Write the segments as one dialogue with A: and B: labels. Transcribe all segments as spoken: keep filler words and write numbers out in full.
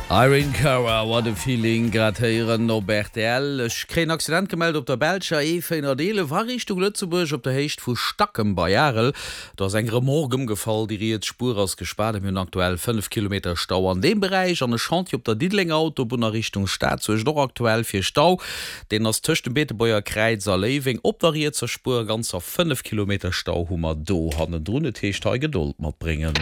A: Irene Cara, What a Feeling, grad héieren op rtl. Ech kréien Accident gemellt op der belscher E véierhonnerteelef a Richtung Lëtzebuerg op der Héicht vu Stackem bei Arel. Do ass eng Remorque ëmgefall, déi riets Spuer ass gespaart a mir hunn aktuell fënnef Kilometer Stau an deem Beräich. An e Chantier op der Diddelenger Autobunn a Richtung Stad suergt och aktuell fir Stau. Deen ass tëscht dem Beetebuerger Kräiz a Léiweng op der rietser Spuer. Ganzer fënnef Kilometer Stau hu mer do hannendrun. Et heescht hei Gedold matbréngen.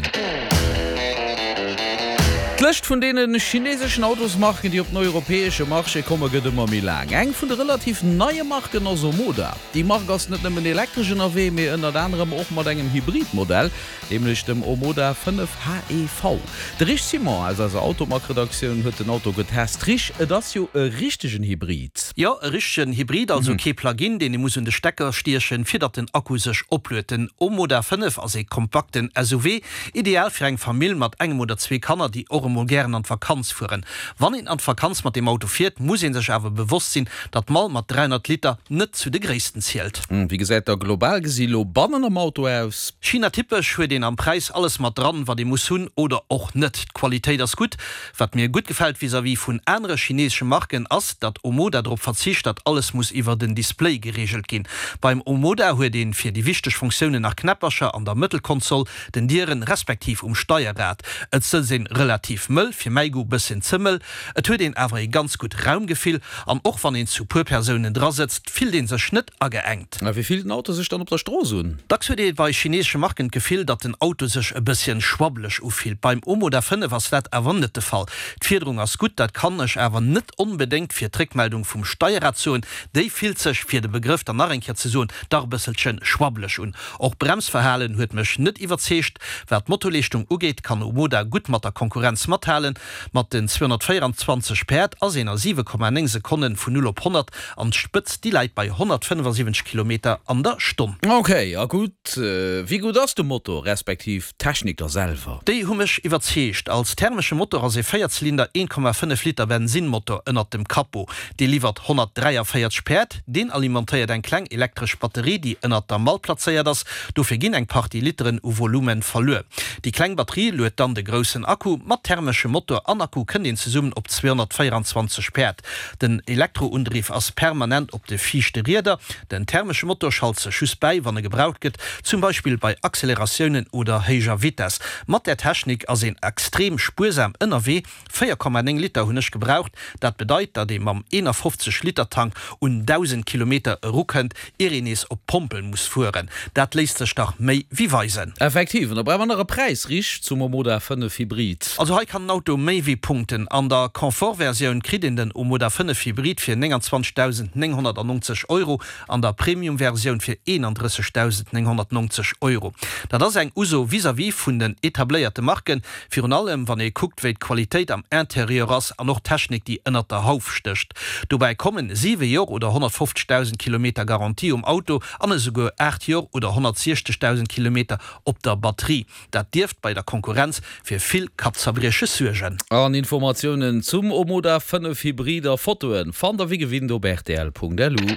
A: D'Lëscht vun deene chineseschen Autosmarken, déi op den europäesche Marché komme gëtt ëmmer méi laang. Eng vun de relativ neie Marken ass Omoda. Déi Mark ass net nëmmen elektresch ënnerwee, mee ënnert anerem och mat engem Hybridmodell, nämlech dem Omoda fënnef H E V. De Rich Simon aus eiser Automag-Redaktioun huet den Auto getest. Rich, et ass jo e richtegen Hybrid.
B: Jo, e richtegen Hybrid, also kee Plug-in, deen ee muss un de Stecker stiechen, fir datt den Akku sech opluet. Den Omoda fënnef ass ee kompakten S U V, ideal fir eng Famill mat engem oder zwee Kanner, déi och emol gären an d'Vakanz fueren. Wann een an d'Vakanz mat deem Auto fiert, muss ee sech awer bewosst sinn, datt d'Mall mat dräihonnert Liter net zu de gréissten zielt.
A: Wéi gesäit da global gesi lo bannen am Auto aus?
B: China-typesch huet een am Präis alles mat dran, wat ee muss hunn oder och net. D'Qualitéit ass gutt. Wat mir gutt gefält vis-à-vis vun anere chineesesche Marken ass, datt Omoda drop verzicht, datt alles muss iwwer den Display gereegelt ginn. Beim Omoda huet een fir déi wichteg Funktiounen nach Knäppercher an der Mëttelkonsol, den Dieren respektiv um Steierrad. Et sëtzt een relativ mëll, fir mäi Goût bësschen ze mëll. Et huet een awer ee ganz gutt Raumgefill an och wann een zu puer Persounen dra sëtzt, fillt een sech net ageengt.
A: A wéi fillt den Auto sech dann op der Strooss un?
B: Dacks huet ee bei chineesesche Marken d'Gefill, datt den Auto sech e bësschen schwabbeleg ufillt. Beim Omoda fënnef ass dat awer net de Fall. D'Fiederung ass gutt, dat kann ech awer net onbedéngt fir d'Réckmeldung vum Steierrad soen. Déi fillt sech, fir de Begrëff dann nach eng Kéier ze soen, dach e bësselchen schwabbeleg un. Och d'Bremsverhalen huet mech net iwwerzeegt. Wat d'Motorleeschtung ugeet, kann Omoda gutt mat der Konkurrenz mathalen. Mat den zweehonnertvéieranzwanzeg Päerd ass een a siwe Komma néng Sekonne vun null op honnert an d'Spëtzt déi läit bei honnertfënnefasiwwenzeg Kilometer an der Stonn.
A: Ok, a gutt, wéi gutt ass de Motor, respektiv d'Technik da selwer?
B: Déi hu mech iwwerzeegt. Als thermesche Motor ass ee Véierzylinder een Komma fënnef Liter Bensinnmotor ënnert dem Capot. Dee liwwert honnertdräiavéierzeg Päerd. Deen alimentéiert eng kleng elektresch Batterie, déi ënnert der Mall plazéiert ass. Dofir ginn eng Partie Literen u Volumen verluer. Déi kleng Batterie luet dann de groussen Akku. Mat thermeschem Motor an Akku kënnt een zesummen op zweehonnertvéieranzwanzeg Päerd. Den Elektroundriff ass permanent op de viischte Rieder. Den thermesche Motor schalt sech just bäi, wann e gebraucht gëtt, zum Beispill bei Acceleratiounen oder héijer Vitess. Mat där Technik ass een extrem spuersam ënnerwee, véier Komma néng Liter hunn ech gebraucht. Dat bedeit, datt ee mam eenafofzeg Liter Tank un dausend Kilometer erukënnt, ier een nees op d'Pompel muss fueren. Dat léisst sech dach méi wéi weisen.
A: Effektiv, an da brauche mer nach e Präis, richt zum Omoda fënnef Hybrid.
B: Also hei kann den Auto méi wéi punkten. An der Confort-Versioun kritt een den Omoda fënnef Hybrid fir nénganzwanzegdausendnénghonnertnongzeg Euro, an der Premium-Versioun fir eenandrëssegdausendnénghonnertnongzeg Euro. Dat ass eng Uso vis-à-vis vun den etabléierte Marken, virun allem wann ee kuckt, wéi d'Qualitéit am Interieur ass an och d'Technik, déi ënnert der Hauf stécht. Dobäi kommen siwe Jor oder honnertfofzegdausend Kilometer Garantie um Auto an esouguer aacht Jor oder honnertsiechzegdausend Kilometer op der Batterie. Dat dierft bei der Konkurrenz fir vill Kappzerbrieches suergen.
A: An Informatiounen zum Omoda fënnef Hybrid a Fotoen fannt der wéi gewinnt op rtl Punkt lu.